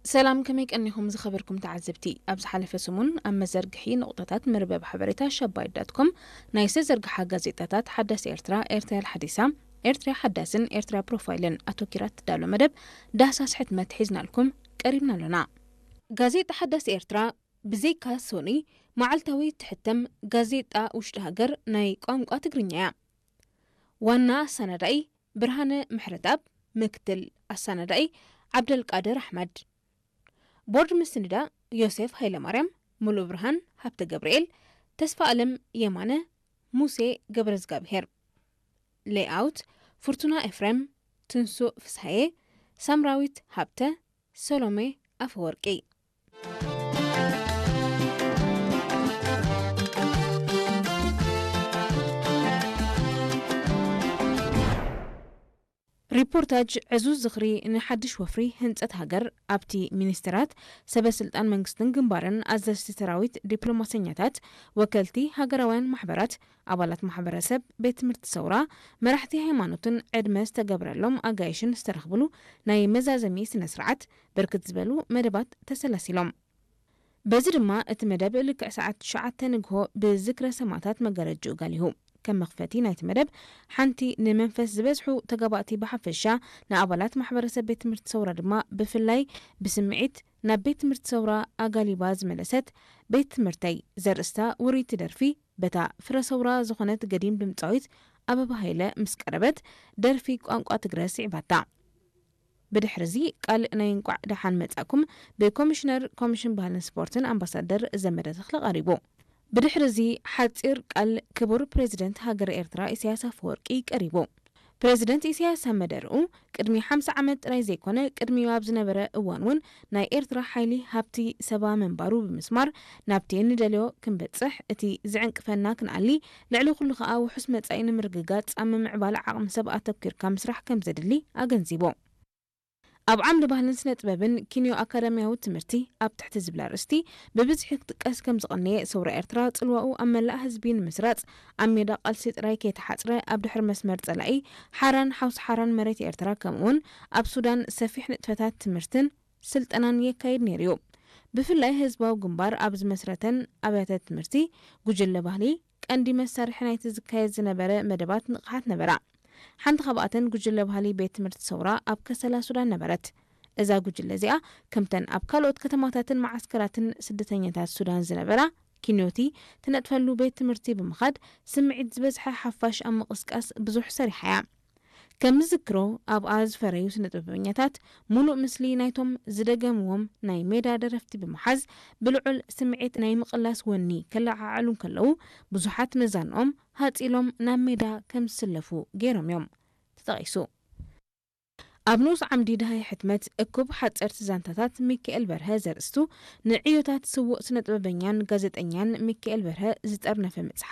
ሰላም፣ ከመይ ቀኒኹም ዝኸበርኩም ተዓዘብቲ? ኣብ ዝሓለፈ ሰሙን ኣብ መዘርግሒ ንቑጣታት መርበብ ሓበሬታ ሸባይት ዳት ኮም ናይ ዝተዘርግሓ ጋዜጣታት ሓዳስ ኤርትራ፣ ኤርትራ ሓዲሳ፣ ኤርትራ ሓዳስን ኤርትራ ፕሮፋይልን ኣተኪራ ትዳሎ መደብ ዳህሳስ ሕትመት ሒዝናልኩም ቀሪብና ኣሎና። ጋዜጣ ሓዳስ ኤርትራ ብዘይካ ሶኒ መዓልታዊ ትሕተም ጋዜጣ ውሽጢ ሃገር ናይ ቋንቋ ትግርኛ እያ። ዋና ኣሰናዳኢ ብርሃነ ምሕረትኣብ፣ ምክትል ኣሰናዳኢ ዓብደልቃድር ኣሕመድ፣ ቦርድ ምስንዳ ዮሴፍ ሃይለማርያም፣ ሙሉእ ብርሃን ሃብተ ገብርኤል፣ ተስፋ ኣለም የማነ፣ ሙሴ ገብረዝጋብሄር፣ ሌይኣውት ፍርቱና ኤፍሬም፣ ትንሱእ ፍስሃየ፣ ሳምራዊት ሃብተ፣ ሰሎሜ ኣፈወርቂ። ሪፖርታጅ ዕዙዝ ዝኽሪ ንሓድሽ ወፍሪ ህንጸት ሃገር። ኣብቲ ሚኒስትራት፣ ሰበ ስልጣን መንግስትን ግንባርን፣ ኣዘዝቲ ሰራዊት፣ ዲፕሎማሰኛታት፣ ወከልቲ ሃገራውያን ማሕበራት፣ ኣባላት ማሕበረሰብ፣ ቤት ትምህርቲ ሰውራ፣ መራሕቲ ሃይማኖትን ዕድመ ዝተገብረሎም ኣጋይሽን ዝተረኽብሉ ናይ መዛዘሚ ስነ ስርዓት ብርክት ዝበሉ መደባት ተሰላሲሎም። በዚ ድማ እቲ መደብ ልክዕ ሰዓት ትሽዓተ ንግሆ ብዝክረ ሰማእታት መጋረጅኡ ጋሊሁ። ከም መኽፈቲ ናይቲ መደብ ሓንቲ ንመንፈስ ዝበዝሑ ተጋባእቲ ብሓፈሻ ንኣባላት ማሕበረሰብ ቤት ትምህርቲ ሰውራ ድማ ብፍላይ ብስምዒት ናብ ቤት ትምህርቲ ሰውራ ኣጋሊባ ዝመለሰት ቤት ትምህርተይ ዘርእስታ ውርይቲ ደርፊ በታ ፍረ ሰውራ ዝኾነት ገዲም ድምፃዊት ኣበባ ሃይለ ምስ ቀረበት ደርፊ ቋንቋ ትግረ ስዒባታ። ብድሕሪ እዚ ቃል ናይ እንቋዕ ደሓን መጻእኩም ብኮሚሽነር ኮሚሽን ባህልን ስፖርትን ኣምባሳደር ዘመደ ተኽለ ቀሪቡ። ብድሕሪ እዚ ሓጺር ቃል ክቡር ፕሬዚደንት ሃገር ኤርትራ ኢሳያስ ኣፈወርቂ ቀሪቡ። ፕሬዚደንት ኢሳያስ ኣብ መደርኡ ቅድሚ ሓምሳ ዓመት ጥራይ ዘይኮነ ቅድሚኡ ኣብ ዝነበረ እዋን እውን ናይ ኤርትራ ሓይሊ ሃብቲ ሰባ ምንባሩ ብምስማር ናብቲ እንደልዮ ክንበጽሕ እቲ ዝዕንቅፈና ክንኣሊ ልዕሊ ኩሉ ከኣ ውሑስ መጻኢ ንምርግጋጽ ኣብ ምምዕባል ዓቕሚ ሰብ ኣተኪርካ ምስራሕ ከም ዘድሊ ኣገንዚቡ። ኣብ ዓምዲ ባህልን ስነ ጥበብን ኪንዮ ኣካዳሚያዊ ትምህርቲ ኣብ ትሕቲ ዝብል ኣርእስቲ ብብዝሒ ክጥቀስ ከም ዝቐነየ ሰውራ ኤርትራ ጽልዋኡ ኣብ መላእ ህዝቢ ንምስራጽ ኣብ ሜዳ ቃልሲ ጥራይ ከይተሓጽረ ኣብ ድሕሪ መስመር ጸላኢ ሓራን ሓውሲ ሓራን መሬት ኤርትራ ከምኡውን ኣብ ሱዳን ሰፊሕ ንጥፈታት ትምህርትን ስልጠናን የካይድ ነይሩ እዩ። ብፍላይ ህዝባዊ ግንባር ኣብ ዝመስረተን ኣብያተ ትምህርቲ ጉጅለ ባህሊ ቀንዲ መሳርሒ ናይቲ ዝካየድ ዝነበረ መደባት ንቕሓት ነበራ። ሓንቲ ካብኣተን ጉጅለ ባህሊ ቤት ትምህርቲ ሰውራ ኣብ ከሰላ ሱዳን ነበረት። እዛ ጉጅለ እዚኣ ከምተን ኣብ ካልኦት ከተማታትን መዓስከራትን ስደተኛታት ሱዳን ዝነበራ ኪንዮቲ ትነጥፈሉ ቤት ትምህርቲ ብምኻድ ስምዒት ዝበዝሐ ሓፋሽ ኣብ ምቕስቃስ ብዙሕ ሰሪሓ እያ። ከም ዝዝክሮ ኣብኣ ዝፈረዩ ስነ ጥበበኛታት ሙሉእ ምስሊ ናይቶም ዝደገምዎም ናይ ሜዳ ደረፍቲ ብምሓዝ ብልዑል ስምዒት ናይ ምቕላስ ወኒ ከለዓዕሉ እንከለዉ ብዙሓት መዛንኦም ሃጺሎም ናብ ሜዳ ከም ዝስለፉ ገይሮም እዮም ተጠቒሱ። ኣብ ንኡስ ዓምዲ ደሃይ ሕትመት እኩብ ሓጸርቲ ዛንታታት ሚካኤል በርሀ ዘርእስቱ ንዕዮታት ስዉእ ስነ ጥበበኛን ጋዜጠኛን ሚካኤል በርሀ ዝጠርነፈ መጽሓፍ